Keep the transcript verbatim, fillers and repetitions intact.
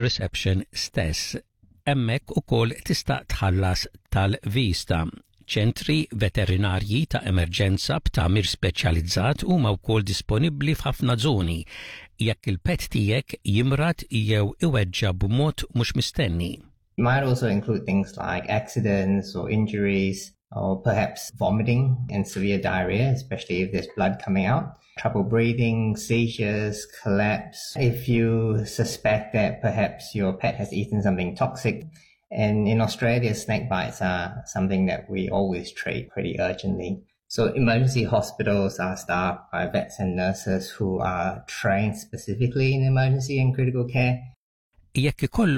Reception stess. Hemmhekk ukoll tista' tħallas tal-viżta. Ċentri veterinarji ta' emerġenza b'tagħmir speċjalizzat huma wkoll disponibbli f'ħafna żoni jekk il-pet tiegħek jimrad jew iweġġa b'mod mhux mistenni. Might also include things like accidents or injuries or perhaps vomiting and severe diarrhea, especially if there's blood coming out, trouble breathing, seizures, collapse. If you suspect that perhaps your pet has eaten something toxic, and in Australia, snake bites are something that we always treat pretty urgently. So emergency hospitals are staffed by vets and nurses who are trained specifically in emergency and critical care. Jekk ikollok